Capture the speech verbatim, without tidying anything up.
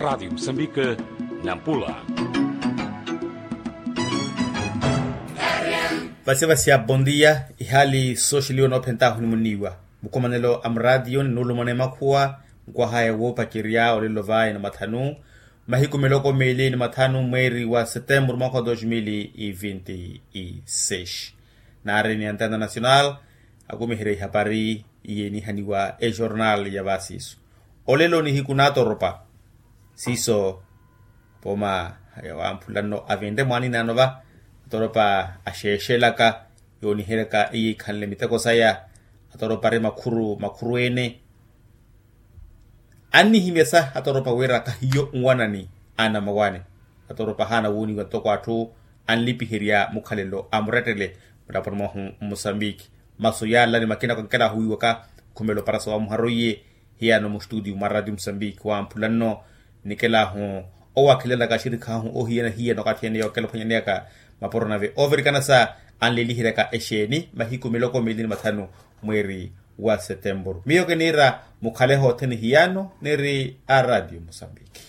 Radiyo musambike, nampula. Vasya vasya bondia. Ihali sooxeliwa noophentahu nimuniiwa mukomanelo a muraatiyo ni nuulumana emakhuwa. Nkwahaya woopacerya olelo vayi na mathanu, mahiku miloko miili ni mathanu mweeri wa setempuru mwakha wa dos mili vinti e seis. Naari ni antena nacional akumiherya ihapari iye enihaniwa ejornal ya vasiisu. Olelo nihiku naatoropa siiso pooma yawamphula nno avinre mwaninano va atoropa axeexelaka yooniheryaka iye ikhanle miteko saya. Atoropa ari makhuru makhuru ene annihimyasa atoropa wira kahiyo nwanani anamawani. Atoropa ahaana wooniwa ntoko atthu anlipiherya mukhalelo a murettele mulaponi mwahu mmusambiki. Masu yaala ni makina kwankelahu wiiwaka khumelo parasa wa muharo iye hiyano mustutiyu mwa ratiyo msambiki wamphula nno nikelahu owakhilanaka axirikhahu ohiyana hiyana okathi ene yookela ophwanyaneyaka mapuro nave oovirikanasa anleliheryaka exeeni mahiku miloko miili ni mathanu mweeri wa setempuru miyo kiniira mukhale hothene hiyano niri a ratiyo msambiki.